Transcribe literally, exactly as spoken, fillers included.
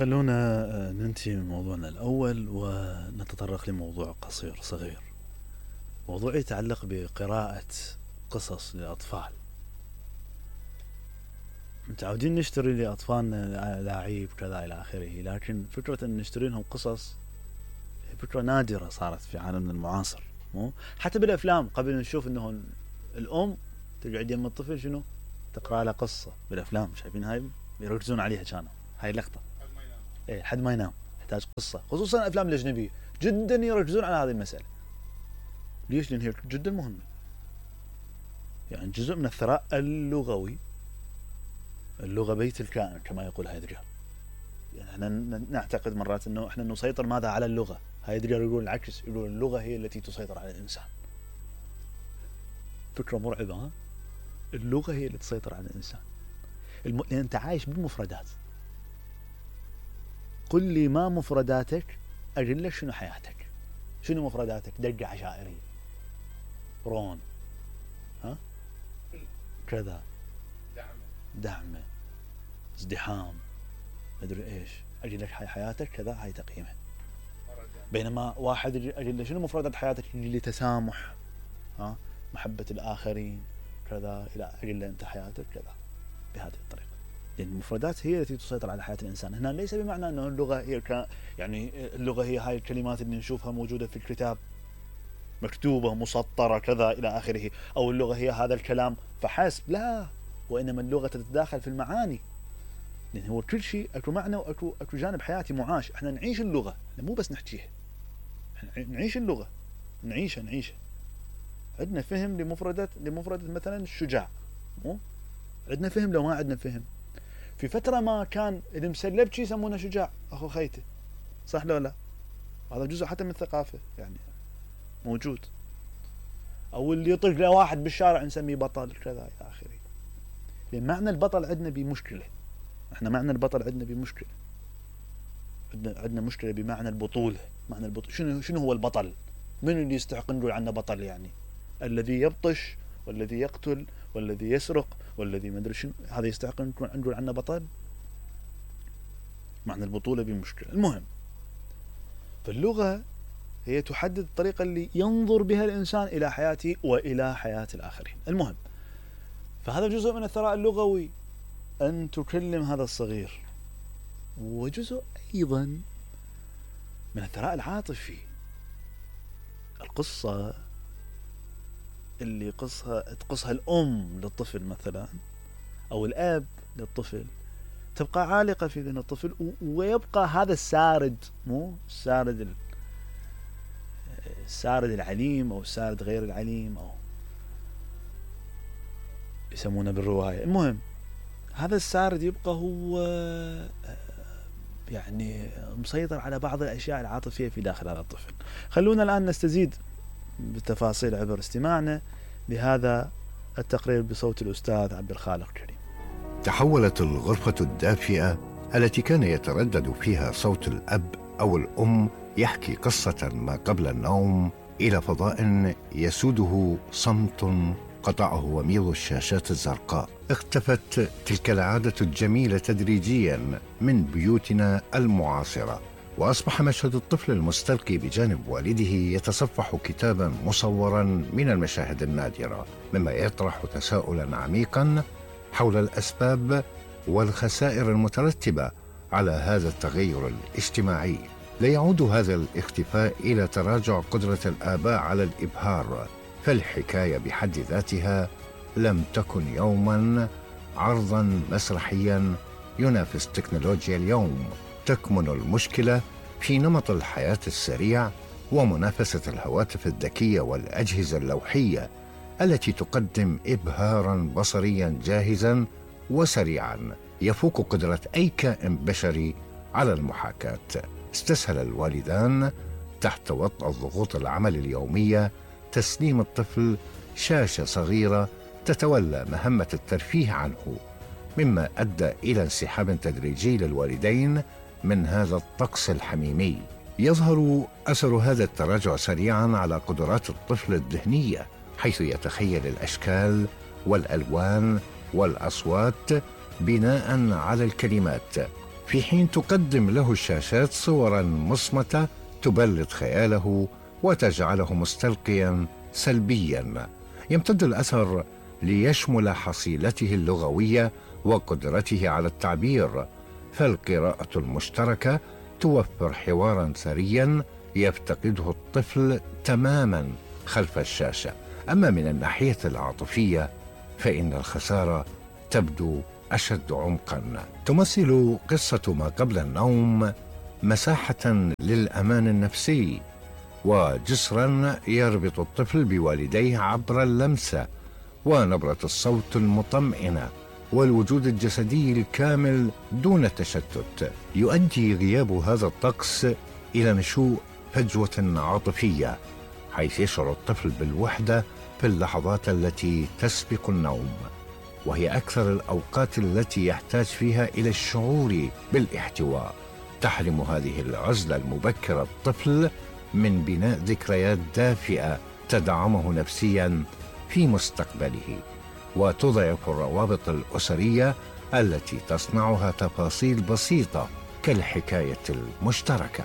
خلونا ننتهي من موضوعنا الأول ونتطرق لموضوع قصير صغير. موضوع يتعلق بقراءة قصص للأطفال. متعودين نشتري لأطفالنا لاعيب كذا إلى آخره، لكن فكرة أن نشتري لهم قصص فكرة نادرة صارت في عالمنا المعاصر. مو حتى بالأفلام قبل نشوف أنه الأم تقعد يم الطفل شنو تقرأ له قصة بالأفلام، شايفين هاي يركزون عليها، كانوا هاي اللقطة ايه حد ما ينام يحتاج قصة، خصوصا الأفلام الأجنبية جدا يركزون على هذه المسألة. ليش؟ لأن هي جدا مهمة، يعني جزء من الثراء اللغوي. اللغة بيت الكائن كما يقول هايدجر. يعني احنا نعتقد مرات انه احنا نسيطر ماذا على اللغة، هايدجر يقول العكس، يقول اللغة هي التي تسيطر على الإنسان. فكرة مرعبة. ها؟ اللغة هي التي تسيطر على الإنسان. الم... لأن أنت عايش بالمفردات. قل لي ما مفرداتك أقول لك شنو حياتك. شنو مفرداتك؟ دقة عشائرية، رون، ها كذا، دعمه دعمه، ازدحام، أدري إيش. أجل لك حي حياتك كذا، هاي تقييمها. بينما واحد أجل له شنو مفردات حياتك؟ يجي لي تسامح، ها، محبة الآخرين كذا، إلى أجل له أنت حياتك كذا بهذه الطريقة. لأن يعني المفردات هي التي تسيطر على حياة الإنسان. هنا ليس بمعنى أنه اللغة هي ك... يعني اللغة هي هاي الكلمات اللي نشوفها موجودة في الكتاب مكتوبة مسطرة كذا إلى آخره، أو اللغة هي هذا الكلام فحسب، لا، وإنما اللغة تتداخل في المعاني. لأن هو كل شيء أكو معنى وأكو أكو جانب حياتي معاش. إحنا نعيش اللغة، مو بس نحكيها، نعيش اللغة، نعيشها نعيشها. عندنا فهم لمفردة لمفردة مثلا الشجاع، مو عندنا فهم. لو ما عندنا فهم، في فترة ما كان اللي مسلب شي يسمونه شجاع، أخو خيته، صح لو لا؟ هذا جزء حتى من الثقافة يعني موجود. أو اللي يطق له واحد بالشارع نسميه بطل كذا إلى آخره. لأن معنى البطل عندنا بمشكلة. إحنا معنى البطل عندنا بمشكلة. عندنا عندنا مشكلة بمعنى البطولة. معنى البطولة شنو شنو هو البطل؟ من اللي يستحق نقول عنه بطل؟ يعني الذي يبطش والذي يقتل والذي يسرق والذي ما ادري شنو، هذا يستحق نقول عنه بطل؟ معنى البطولة بمشكلة. المهم، فاللغة هي تحدد الطريقة اللي ينظر بها الإنسان إلى حياته وإلى حياة الآخرين. المهم، فهذا جزء من الثراء اللغوي أن تكلم هذا الصغير، وجزء أيضا من الثراء العاطفي. القصة اللي قصها تقصها الأم للطفل مثلا أو الأب للطفل تبقى عالقة في ذهن الطفل، ويبقى هذا السارد، مو السارد السارد العليم أو السارد غير العليم أو يسمونه بالرواية. المهم، هذا السارد يبقى هو يعني مسيطر على بعض الأشياء العاطفية في داخل هذا الطفل. خلونا الآن نستزيد بالتفاصيل عبر استماعنا لهذا التقرير بصوت الأستاذ عبد الخالق كريم. تحولت الغرفة الدافئة التي كان يتردد فيها صوت الأب أو الأم يحكي قصة ما قبل النوم إلى فضاء يسوده صمت قطعه وميض الشاشات الزرقاء. اختفت تلك العادة الجميلة تدريجيا من بيوتنا المعاصرة، وأصبح مشهد الطفل المستلقي بجانب والده يتصفح كتابا مصورا من المشاهد النادرة، مما يطرح تساؤلا عميقا حول الأسباب والخسائر المترتبة على هذا التغير الاجتماعي. لا يعود هذا الاختفاء إلى تراجع قدرة الآباء على الإبهار، فالحكاية بحد ذاتها لم تكن يوما عرضا مسرحيا ينافس تكنولوجيا اليوم. تكمن المشكلة في نمط الحياة السريع ومنافسة الهواتف الذكية والأجهزة اللوحية التي تقدم إبهارا بصريا جاهزا وسريعا يفوق قدرة أي كائن بشري على المحاكاة. استسهل الوالدان تحت وطأ ضغوط العمل اليومية تسليم الطفل شاشة صغيرة تتولى مهمة الترفيه عنه، مما أدى إلى انسحاب تدريجي للوالدين من هذا الطقس الحميمي. يظهر أثر هذا التراجع سريعا على قدرات الطفل الذهنية، حيث يتخيل الأشكال والألوان والأصوات بناء على الكلمات، في حين تقدم له الشاشات صورا مصمتة تبلد خياله وتجعله مستلقيا سلبيا. يمتد الأثر ليشمل حصيلته اللغوية وقدرته على التعبير، فالقراءة المشتركة توفر حوارا ثريا يفتقده الطفل تماما خلف الشاشة. أما من الناحية العاطفية فإن الخسارة تبدو أشد عمقا. تمثل قصة ما قبل النوم مساحة للأمان النفسي وجسرا يربط الطفل بوالديه عبر اللمسة ونبرة الصوت المطمئنة والوجود الجسدي الكامل دون تشتت. يؤدي غياب هذا الطقس إلى نشوء فجوة عاطفية، حيث يشعر الطفل بالوحدة في اللحظات التي تسبق النوم، وهي أكثر الأوقات التي يحتاج فيها إلى الشعور بالاحتواء. تحرم هذه العزلة المبكرة الطفل من بناء ذكريات دافئة تدعمه نفسيا في مستقبله، وتضعف الروابط الأسرية التي تصنعها تفاصيل بسيطة كالحكاية المشتركة.